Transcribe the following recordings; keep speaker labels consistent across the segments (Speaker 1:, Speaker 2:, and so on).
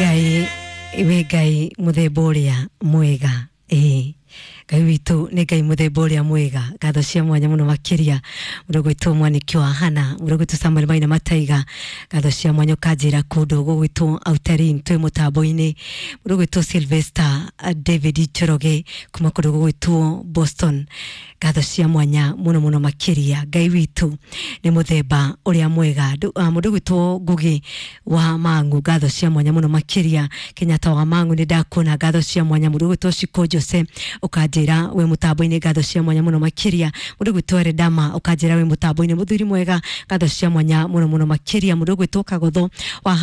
Speaker 1: Ngai wĩ Ngai mũthemba ũrĩa mwega. Ĩĩ, Ngai witũ nĩ Ngai mũthemba ũrĩa mwega. Ngatho cia mwanya mũno makĩria mũndũ gwĩtwo Mwaniki wa Hana, mũndũ gwĩtwo Samuel Maina Mataiga. Ngatho cia mwanya ũkanjĩra kũndũ gũgwĩtwo Autarin twĩ mũtambo-inĩ. Mũndũ gwĩtwo Sylvester David Njoroge kuma kũndũ gũgwĩtwo Boston. Ngatho cia mwanya mũno mũno makĩria. Ngai witũ nĩ mũthemba ũrĩa mwega. Mũndũ gwĩtwo Ngugi wa Mangu, ngatho cia mwanya mũno makĩria. Kenyatta wa Mangu nĩ ndakuona, ngatho cia mwanya. Mũndũ gwĩtwo Shiko Jose ũkanjĩra wĩ mũtambo-inĩ, ngatho cia mwanya mũno makĩria. Mũndũ gwĩtwo Redama ũkanjĩra wĩ mũtambo-inĩ, mũthuri mwega, ngatho cia mwanya mũno mũno makĩria. Mũndũ gwĩtwo Kagotho wa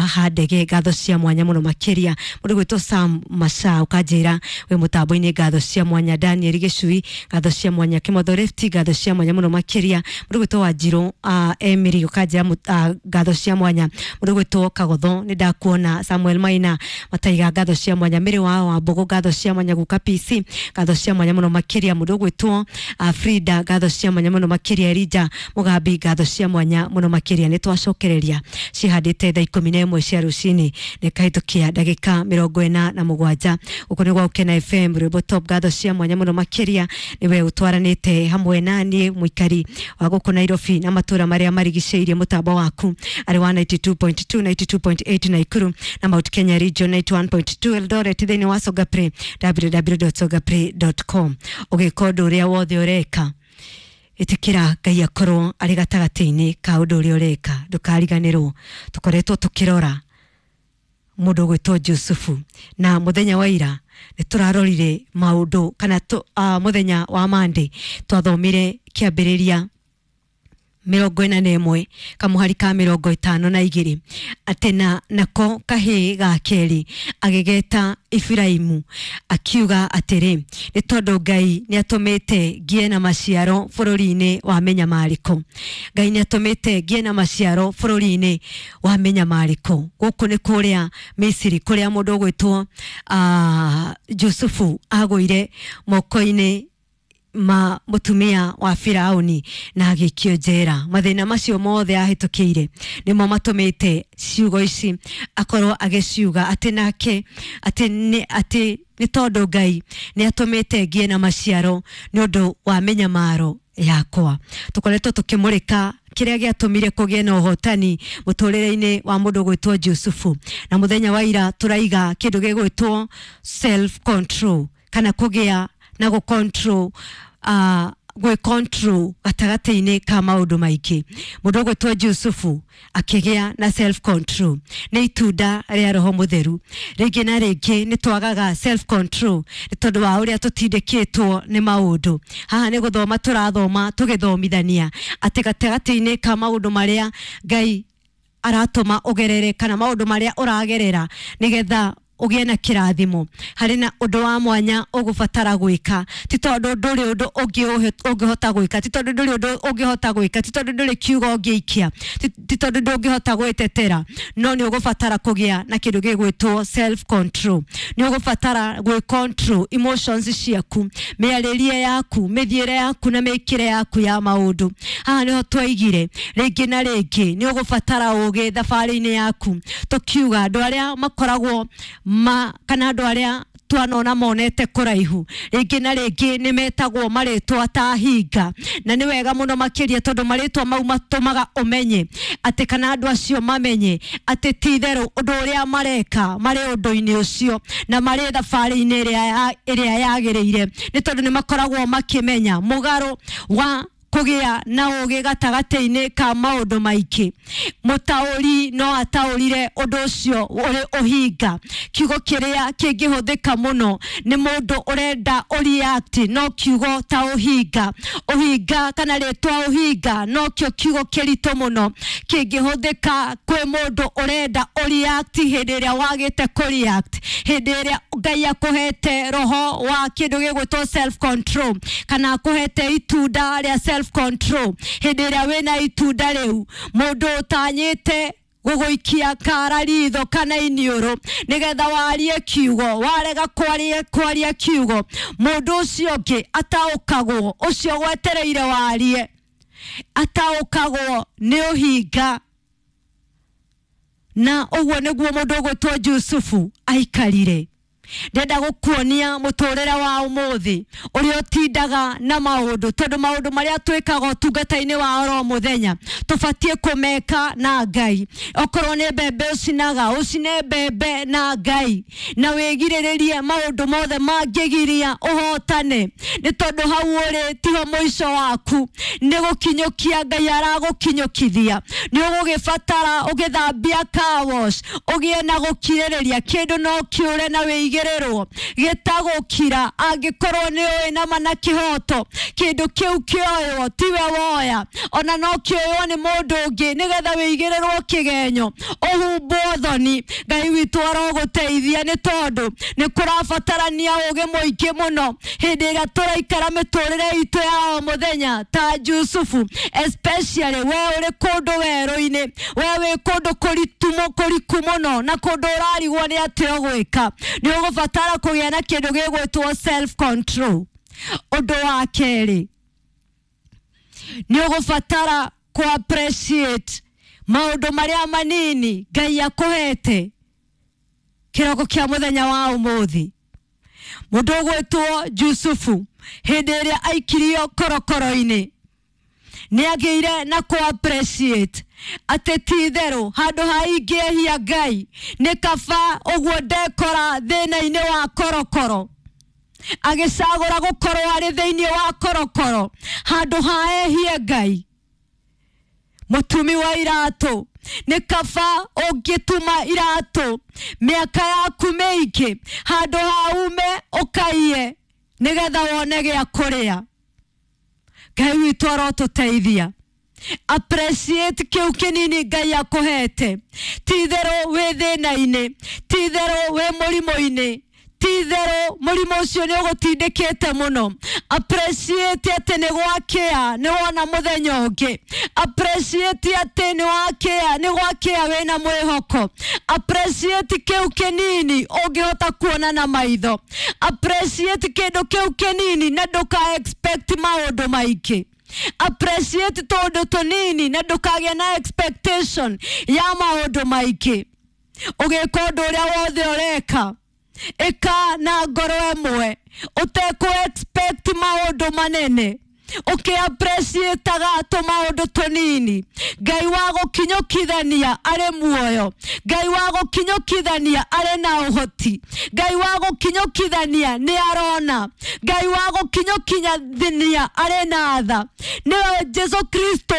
Speaker 1: Handege, ngatho cia mwanya mũno makĩria. Mũndũ gwĩtwo Sam Masha ũkanjĩra wĩ mũtambo-inĩ, ngatho cia mwanya. Daniel Gĩcui, ngatho cia mwanya. Kĩmotho Lefty, ngatho cia mwanya mũno makĩria. Mũndũ gwĩtwo Wanjirũ Emily ũkanjĩra ngatho cia mwanya. Mũndũ gwĩtwo Kagotho nĩ ndakuona. Samuel Maina Mataiga, ngatho cia mwanya. Mĩrĩ wa Wambũgũ, ngatho cia mwanya. Guka PC, ngatho cia mwanya mũno makĩria. Mũndũ gwĩtwo Frida, ngatho cia mwanya mũno makĩria. Elija Mugambi, ngatho cia mwanya mũno makĩria. Nĩ twacokereria cihandĩte thaa 11 cia rũcinĩ nĩ kahĩtũkia ndagĩka 47. Gũkũ nĩ gwa Gũkena FM, rwĩmbo top. Ngatho cia mwanya mũno makĩria nĩwe ũtwaranĩte hamwe na niĩ mũikari wa gũkũ Nairobi na matũra marĩa marigicĩirie. Mũtambo waku arĩ wa 92.2, 92.8 Naikuru na Mount Kenya Region, 91.2 Eldoret, thĩinĩ wa Songa Play, www.songaplay.com. Ũgĩka ũndũ ũrĩa wothe ũreka, ĩtĩkĩra Ngai akorwo arĩ gatagatĩ-inĩ ka ũndũ ũrĩa ũreka. Ndũkariganĩrwo tũkoretwo tũkĩrora mũndũ ũgwĩtwo Jusufu, na mũthenya wa ira nĩ tũrarorire maũndũ kana mũthenya wa Monday twathomire Kĩambĩrĩria 41 kamũhari ka 52, atĩ na nako kahĩĩ ga kerĩ agĩgeta Iburaimu, akiuga atĩrĩ, nĩ tondũ Ngai nĩ atũmĩte ngĩe na maciaro bũrũri-inĩ wa mĩnyamarĩko. Ngai nĩ atũmĩte ngĩe na maciaro bũrũri-inĩ wa mĩnyamarĩko. Gũkũ nĩ kũrĩa Misiri, kũrĩa mũndũ ũgwĩtwo Jusufu agũire moko-inĩ ma mũtumia wa Firauni na agĩikio njera. Mathĩna macio mothe ahĩtũkĩire nĩmo matũmĩte ciugo ici akorwo agĩciuga, atĩ nake atĩ nĩ atĩ nĩ tondũ Ngai nĩ atũmĩte ngĩe na maciaro nĩ ũndũ wa mĩnyamaro yakwa. Tũkoretwo tũkĩmũrĩka kĩrĩa gĩatũmire kũgĩe na ũhotani mũtũrĩre-inĩ wa mũndũ gwĩtwo Jusufu, na mũthenya wa ira tũraiga kĩndũ gĩgwĩtwo self control, kana kũgĩa na gũ control, gwĩ control gatagatĩ-inĩ ka maũndũ maingĩ. Mũndũ ũgwĩtwo Jusufu akĩgĩa na self control nĩ itunda rĩa Roho Mũtheru. Rĩngĩ na rĩngĩ nĩ twagaga self control nĩ tondũ wa ũrĩa tũtindĩkĩtwo nĩ maũndũ. Haha nĩ gũthoma tũrathoma tũgĩthomithania atĩ gatagatĩ-inĩ ka maũndũ marĩa Ngai aratũma ũgerere kana maũndũ marĩa ũragerera nĩgetha ũgĩe na kĩrathimo, harĩ na ũndũ wa mwanya ũgũbatara gwĩka. Ti tondũ ndũrĩ ũndũ ũngĩ ũngĩhota gwĩka, ti tondũ ndũrĩ ũndũ ũngĩhota gwĩka, ti tondũ ndũrĩ kiugo ũngĩikia, ti tondũ ndũngĩhota gwĩtetera, no nĩ ũgũbatara kũgĩa na kĩndũ gĩgwĩtwo self control. Nĩ ũgũbatara gwĩ control emotions ciaku, mĩarĩrie yaku, mĩthiĩre yaku na mĩkĩre yaku ya maũndũ. Haha nĩho twaigire rĩngĩ na rĩngĩ nĩ ũgũbatara ũgĩ thabarĩ-inĩ yaku, tũkiuga andũ arĩa makoragwo ma kana andũ arĩa twanona monete kũraihu rĩngĩ na rĩngĩ nĩ metagwo marĩtwa ta hinga, na nĩ wega mũno makĩria tondũ marĩtwa mau matũmaga ũmenye atĩ kana andũ acio mamenye atĩ ti itherũ ũndũ ũrĩa mareka marĩ ũndũ-inĩ ũcio na marĩ thabarĩ-inĩ ĩrĩa yagĩrĩire, nĩ tondũ nĩ makoragwo makĩmenya mũgarũ wa kũgĩa na ũgĩ gatagatĩ-inĩ ka maũndũ maingĩ. Mũtaũri no ataũrire ũndũ ũcio ũrĩ ũhinga. Kiugo kĩrĩa kĩngĩhũthĩka mũno nĩ mũndũ ũrenda ũreact no kiugo ta ũhinga. Ũhinga kana rĩtwa ũhinga nokĩo kiugo kĩritũ mũno kĩngĩhũthĩka kwĩ mũndũ ũrenda ũreact hĩndĩ ĩrĩa wagĩte kũreact, hĩndĩ ĩrĩa Ngai akũhete roho wa kĩndũ gĩgwĩtwo self control kana akũhete itunda rĩa self control. Hĩndĩ ĩrĩa wĩna itunda rĩu, mũndũ ũtanyĩte gũgũikia kara ritho kana iniũrũ nĩgetha warie kiugo, warega kwaria kiugo, mũndũ ũcio ũngĩ ataũkagwo, ũcio gwetereire warie ataũkagwo nĩ ũhinga. Na ũguo nĩguo mũndũ ũgwĩtwo Jusufu aikarire. Ndenda gũkuonia mũtũrĩre wa ũmũthĩ ũrĩa ũtindaga na maũndũ, tondũ maũndũ marĩa twĩkaga ũtungata-inĩ wa oro mũthenya tũbatiĩ kũmeka na Ngai. Okorwo nĩ mbembe ũcinaga, ũcine mbembe na Ngai, na wĩgirĩrĩrie maũndũ mothe mangĩgiria ũhotane, nĩ tondũ hau ũrĩ tiho mũico waku, nĩ gũkinyũkia Ngai aragũkinyũkithia. Nĩ ũgũgĩbatara ũgĩthambia car wash, ũgĩe na gũkirĩrĩria, kĩndũ no kĩũre na wĩigĩrĩrwo gĩtagũkira angĩkorwo nĩ ũĩ nama na kĩhoto kĩndũ kĩu kĩoywo tiwe woya, ona no kĩoywo nĩ mũndũ ũngĩ, nĩgetha wĩigĩrĩrwo kĩgenyo ũhumbwo thoni. Ngai witũ arogũteithia, nĩ tondũ nĩ kũrabatarania ũgĩ mũingĩ mũno hĩndĩ ĩrĩa tũraikara mĩtũrĩre itũ ya o mũthenya ta Jusufu, especially we ũrĩ kũndũ werũ-inĩ, we wĩ kũndũ kũriku mũno na kũndũ ũrarigwo nĩ atĩa ũgwĩka. Nĩ ũgũbatara kũgĩa na kĩndũ gĩgwĩtwo self control. Ũndũ wa kerĩ, nĩ ũgũbatara kũ appreciate maũndũ marĩa manini Ngai akũhete kĩroko kĩa mũthenya wa ũmũthĩ. Mũndũ ũgwĩtwo Jusufu hĩndĩ ĩrĩa aikirio korokoro-inĩ nĩ agĩire na kũ appreciate atĩ ti itherũ handũ ha ingĩehia Ngai nĩ kaba ũguo ndekora thĩna-inĩ wa korokoro. Agĩcagũra gũkorwo arĩ thĩinĩ wa korokoro handũ ha ehie Ngai. Mũtumi wa iratũ, nĩ kaba ũngĩtuma iratũ mĩaka yaku mĩingĩ handũ ha ume ũkaiye nĩgetha wone gĩa kũrĩa. Ngai witũ arotũteithia. Appreciate kĩu kĩnini Ngai akũhete. Ti itherũ wĩ thĩna-inĩ, ti itherũ wĩ mũrimũ-inĩ, ti itherũ mũrimũ ũcio nĩ ũgũtindĩkĩte mũno. Appreciate atĩ nĩ gwakĩa nĩ wona mũthenya ũngĩ. Appreciate atĩ nĩ wakĩa nĩ gwakĩa wĩna mwĩhoko. Appreciate kĩu kĩnini ũngĩhota kuona na maitho. Appreciate kĩndũ kĩu kĩnini na ndũka expect maũndũ maingĩ. Appreciate tũndũ tũnini na ndũkagĩe na expectation ya maũndũ maingĩ. Ũgĩka ũndũ ũrĩa wothe ũreka, ĩka na ngoro ĩmwe ũtekũ expect maũndũ manene, ũkĩ-appreciataga tũmaũndũ tũnini. Ngai wa gũkinyũkithania arĩ muoyo, Ngai wa gũkinyũkithania arĩ na ũhoti, Ngai wa gũkinyũkithania nĩ arona, Ngai wa gũkinyũkithania arĩ na tha. Nĩwe Jesu Kristo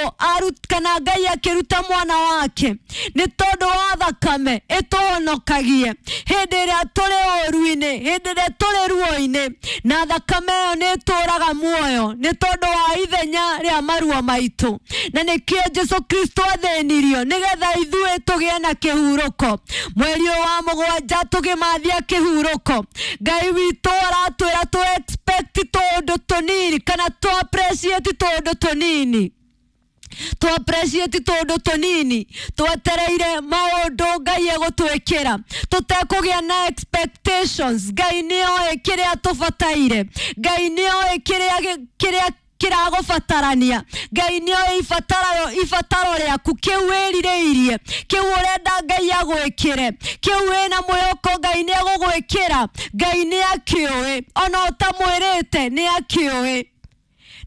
Speaker 1: kana Ngai akĩruta mwana wake nĩ tondũ wa thakame ĩtũhonokagie hĩndĩ ĩrĩa tũrĩ ũũru-inĩ, hĩndĩ ĩrĩa tũrĩ ruo-inĩ, na thakame ĩyo nĩ ĩtũraga muoyo nĩ tondũ wa ithenya rĩa maruo maitũ. Na nĩkĩo Jesu Kristo athĩnirio nĩgetha ithuĩ tũgĩe na kĩhurũko. Mweri ũyũ wa mũgwanja tũgĩmathia kĩhurũko, Ngai witũ aratwĩra tũ expect tũũndũ tũnini kana tũ appreciate tũũndũ tũnini, tũ appreciate tũũndũ tũnini twetereire maũndũ Ngai egũtwĩkĩra tũtekũgĩa na expectations. Ngai nĩoĩ kĩrĩa tũbataire, Ngai nĩoĩ kĩrĩa kĩragũbatarania, Ngai nĩoĩ ibataro rĩaku, kĩu wĩrirĩirie, kĩu ũrenda Ngai agwĩkĩre, kĩu wĩna mwĩhoko Ngai nĩegũgwĩkĩra. Ngai nĩakĩũĩ, ona ũtamwĩrĩte nĩakĩũĩ.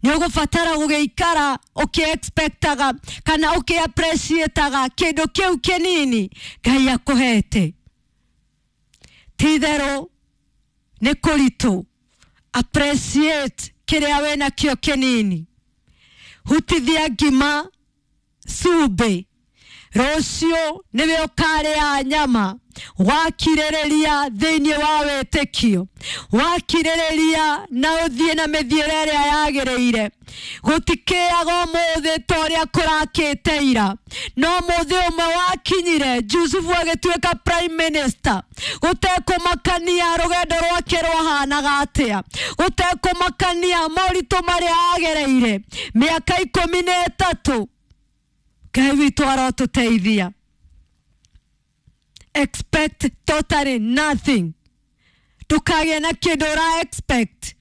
Speaker 1: Nĩ ũgũbatara gũgĩikara ũkĩ-expectaga kana ũkĩ-appreciataga kĩndũ kĩu kĩnini Ngai akũhete. Ti itherũ nĩ kũritũ, appreciate kĩrĩa wĩnakĩo kĩnini. Hutithia ngima cumbĩ, rũciũ nĩwe ũkarĩa nyama. Wakirĩrĩria thĩinĩ wa wĩtĩkio, wakirĩrĩria na ũthiĩ na mĩthiĩre ĩrĩa yagĩrĩire. Gũtikĩaga ũmũthĩ ta ũrĩa kũrakĩte ira, no mũthĩ ũmwe wakinyire Jusufu agĩtuĩka prime minister, gũtekũmakania rũgendo rwake rwahanaga atĩa, gũtekũmakania moritũ marĩa agereire mĩaka 13. Ngai witũ arotũteithia. Expect totally nothing. Ndũkagĩe na kĩndũ ũra expect,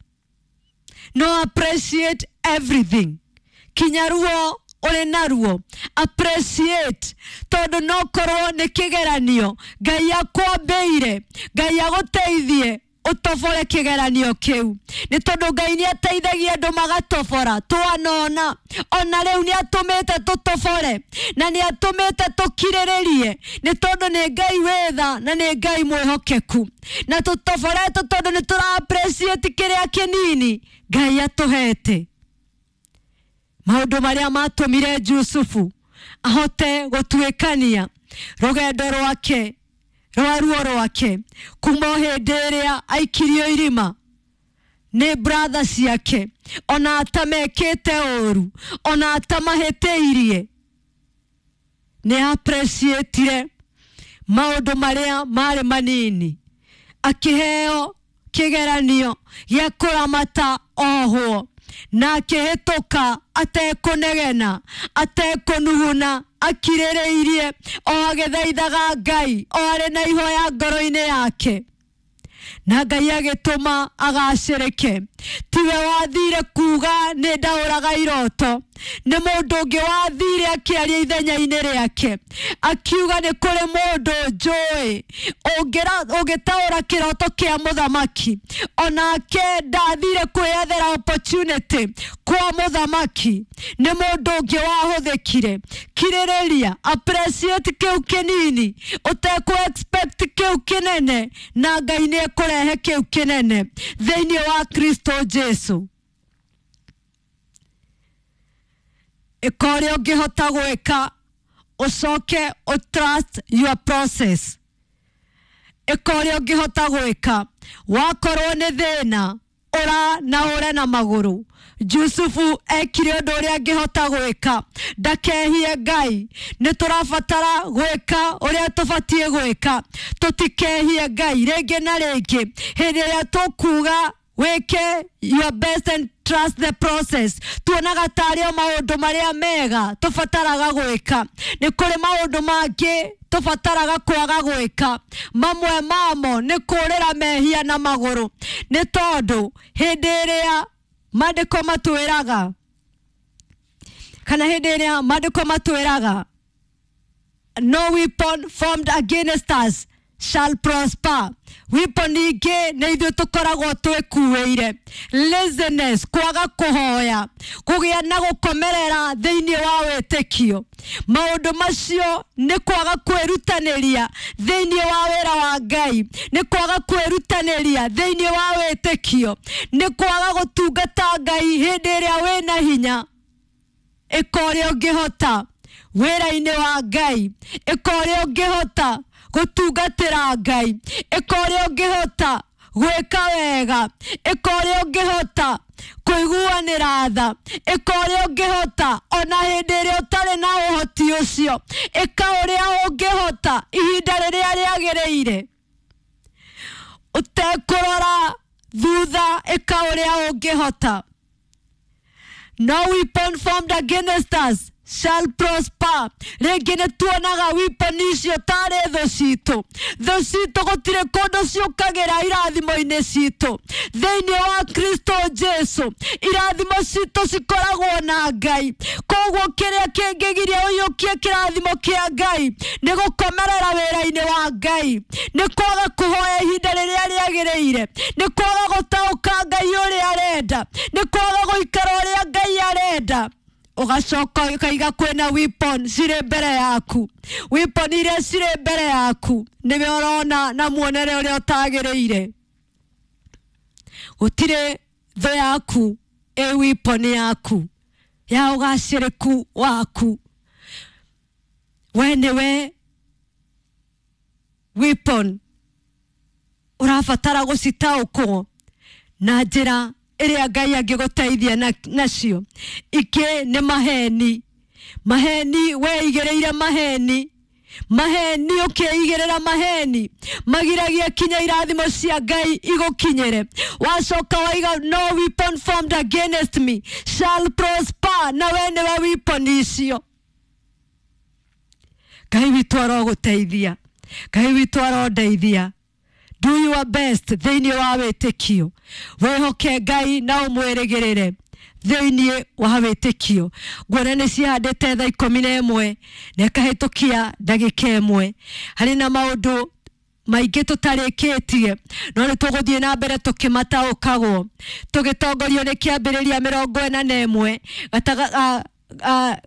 Speaker 1: no appreciate everything. Kinya ruo ũrĩ naruo, appreciate, tondũ no korwo nĩ kĩgeranio Ngai akwambĩire, Ngai agũteithie ũtobore kĩgeranio kĩu, nĩ tondũ Ngai nĩ ateithagia andũ magatobora. Twanona ona rĩu nĩ atũmĩte tũtobore na nĩ atũmĩte tũkirĩrĩrie, nĩ tondũ nĩ Ngai wĩ tha na nĩ Ngai mwĩhokeku, na tũtoborete tondũ nĩ tũra appreciate kĩrĩa kĩnini Ngai atũhete. Maũndũ marĩa matũmire Jusufu ahote gũtuĩkania rũgendo rwake rwa ruo rwake kuma o hĩndĩ ĩrĩa aikirio irima nĩ brother ciake, ona atamekĩte ũru, ona atamahĩtĩirie, nĩ appreciatire maũndũ marĩa marĩ manini, akĩheo kĩgeranio gĩa kũramata ohwo, na akĩhĩtũka atekũnegena, atekũnuguna, akirĩrĩirie o agĩthaithaga Ngai, o arĩ na ihoya ngoro-inĩ yake, na Ngai agĩtũma agacĩrĩke. Tiwe wathire kuga nĩ ndaũraga iroto, nĩ mũndũ ũngĩ wathire akĩaria ithenya-inĩ rĩake, akiuga nĩ kũrĩ mũndũ njũĩ ũngĩtaũra kĩroto kĩa mũthamaki. Onake ndathire kwĩyethera opportunity kwa mũthamaki, nĩ mũndũ ũngĩ wahũthĩkire. Kirĩrĩria, appreciate kĩu kĩnini, ũtekũ expect kĩu kĩnene, na Ngai nĩ ekũrehe kĩu kĩnene thĩinĩ wa Kristo Jesu. Ĩka ũrĩa ũngĩhota gwĩka, ũcoke ũ trust your process. Ĩka ũrĩa ũngĩhota gwĩka, wakorwo nĩ thĩna ũra na ũre na magũrũ. Jusufu ekire ũndũ ũrĩa angĩhota gwĩka, ndakehie Ngai. Nĩ tũrabatara gwĩka ũrĩa tũbatiĩ gwĩka, tũtikehie Ngai rĩngĩ na rĩngĩ. Hĩndĩ ĩrĩa tũkuga wĩke your best and trust the process, tuonaga tarĩ o maũndũ marĩa mega tũbataraga gwĩka. Nĩ kũrĩ maũndũ mangĩ tũbataraga kwaga gwĩka, mamwe mamo nĩ kũrĩra mehia na magũrũ, nĩ tondũ hĩndĩ ĩrĩa maandĩko matwĩraga, kana hĩndĩ ĩrĩa maandĩko matwĩraga no weapon formed against us shall prosper, weapon ingĩ nĩ ithuĩ tũkoragwo twĩkuĩire. Laziness, kwaga kũhoya, kũgĩa na gũkomerera thĩinĩ wa wĩtĩkio, maũndũ macio nĩ kwaga kwĩrutanĩria thĩinĩ wa wĩra wa Ngai, nĩ kwaga kwĩrutanĩria thĩinĩ wa wĩtĩkio, nĩ kwaga gũtungata Ngai hĩndĩ ĩrĩa wĩna hinya. Ĩka ũrĩa ũngĩhota wĩra-inĩ wa Ngai, ĩka ũrĩa ũngĩhota gũtungatĩra Ngai, ĩka ũrĩa ũngĩhota gwĩka wega, ĩka ũrĩa ũngĩhota kũiguanĩra tha, ĩka ũrĩa ũngĩhota ona hĩndĩ ĩrĩa ũtarĩ na ũhoti ũcio, ĩka ũrĩa ũngĩhota ihinda rĩrĩa rĩagĩrĩire, ũtekũrora thutha, ĩka ũrĩa ũngĩhota. No weapon formed against us shall prosper. Rĩngĩ nĩ tuonaga weapon icio tarĩ thũ citũ. Thũ citũ gũtirĩ kũndũ ciũkagĩra irathimo-inĩ citũ. Thĩinĩ wa Kristo Jesu irathimo citũ cikoragwo na Ngai. Koguo kĩrĩa kĩngĩgiria ũiyũkie kĩrathimo kĩa Ngai nĩ gũkomerera wĩra-inĩ wa Ngai, nĩ kwaga kũhoya ihinda rĩrĩa rĩagĩrĩire, nĩ kwaga gũtaũka Ngai ũrĩa arenda, nĩ kwaga gũikara ũrĩa Ngai arenda. Ũgacoka ũkaiga kwĩna weapon cirĩ mbere yaku. Weapon iria cirĩ mbere yaku nĩwe ũrona na muonere ũrĩa ũtagĩrĩire. Gũtirĩ thũ yaku ĩ weapon yaku ya ũgacĩrĩku waku. We nĩwe weapon ũrabatara gũcitaũkwo na njĩra ĩrĩa Ngai angĩgũteithia nacio. Ingĩ nĩ maheni. Maheni, weigĩrĩire maheni. Maheni, ũkĩigĩrĩra maheni magiragia kinya irathimo cia Ngai igũkinyĩre. Wacoka waiga no weapon formed against me shall prosper, na we nĩwe weapon icio. Ngai witũ arogũteithia, Ngai witũ arondeithia. Do your best thĩinĩ wa wĩtĩkio, wĩhoke Ngai na ũmwĩrĩgĩrĩre. thĩinĩ wa wĩtĩkio. Nguona nĩ cihandĩte thaa 11 na ĩkahĩtũkia ndagĩka 1. Harĩ na maũndũ maingĩ tũtarĩkĩtie, no nĩ tũgũthiĩ na mbere tũkĩmataũkagwo tũgĩtongorio nĩ kĩambĩrĩria 41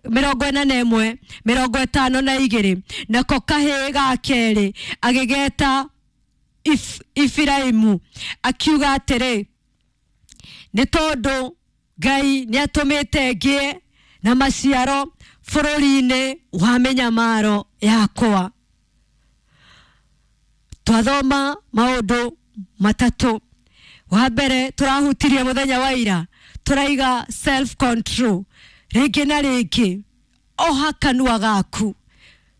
Speaker 1: 41 52. Nako kahĩĩ ga kerĩ agĩgeta Ifiraimu, akiuga atĩrĩ, nĩ tondũ Ngai nĩ atũmĩte ngĩe na maciaro bũrũri-inĩ wa mĩnyamaro yakwa. Twathoma maũndũ matatũ. Wa mbere tũrahutirie mũthenya wa ira, tũraiga self control. Rĩngĩ na rĩngĩ oha kanua gaku,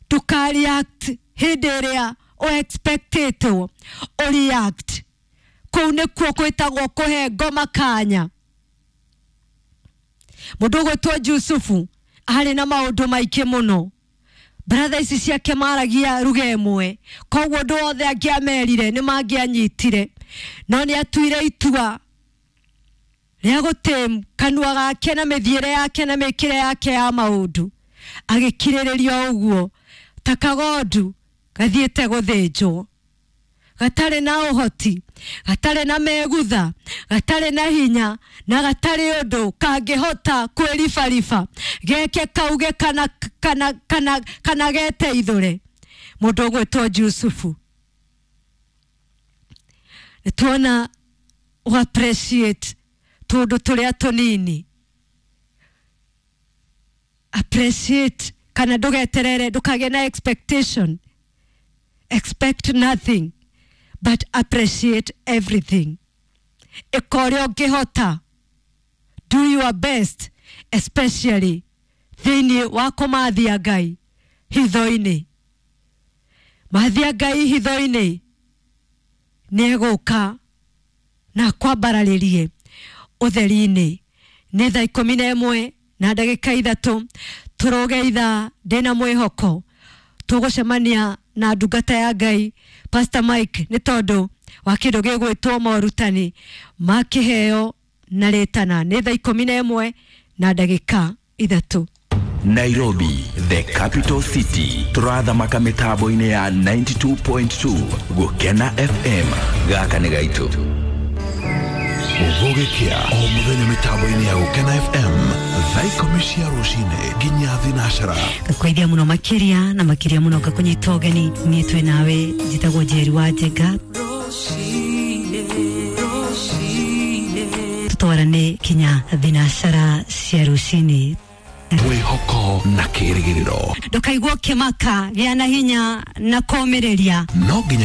Speaker 1: ndũka-react hĩndĩ ĩrĩa ũexpectĩtwo ũreact. Kũu nĩkuo kwĩtagwo kũhe ngoma kanya. Mũndũ ũgwĩtwo Jusufu arĩ na maũndũ maingĩ mũno. Brother ici ciake maragia ruga ĩmwe, koguo ũndũ wothe angĩamerire nĩ mangĩanyitire, no nĩ atuire itua rĩa gũtĩm kanua gake na mĩthiĩre yake na mĩkĩre yake ya maũndũ, agĩkirĩrĩria ũguo ta kagondu gathiĩte gũthĩnjwo, gatarĩ na ũhoti, gatarĩ na megutha, gatarĩ na hinya, na gatarĩ ũndũ kangĩhota kwĩribariba geke kauge kana kana kana kana geteithũre. Mũndũ ũgwĩtwo Jusufu, nĩ tuona ũ appreciate tũndũ tũrĩa tũnini, appreciate kana ndũgeterere, ndũkagĩe na expectation. Expect nothing but appreciate everything. Ĩka ũrĩa ũngĩhota, do your best, especially thĩinĩ wa kũmathia Ngai hitho-inĩ. Mathia Ngai hitho-inĩ, nĩ egũka na kwambararĩrie ũtheri-inĩ. Nĩ thaa 11 na ndagĩka 3, tũrũge ithaa ndĩna mwĩhoko tũgũcemania na ndungata ya Ngai Pastor Mike, nĩ tondũ wa kĩndũ gĩgwĩtwo morutani ma kĩheo na rĩtana. Nĩ thaa 11 na ndagĩka 3.
Speaker 2: Nairobi, the capital city, turathamaka mitambo-inĩ ya 92.2 Gukena FM. Gaka nĩ gaitũ.
Speaker 3: Gũgĩkĩa o mũthenya mĩtambo-inĩ ya Gũkena FM thaa 10 cia rũcinĩ nginya thinacara.
Speaker 1: Ngakũgeithia mũno makĩria na makĩria mũno ngakũnyita ũgeni. Niĩ twĩ nawe, njĩtagwo Njeri wa Njenga, tũtwarane kinya thinacara cia rũcinĩ.
Speaker 3: Mwĩhoko na kĩrĩgĩrĩro.
Speaker 1: Ndũkaigua ũkĩmaka, gĩa na hinya na kũũmĩrĩria.
Speaker 3: No nginya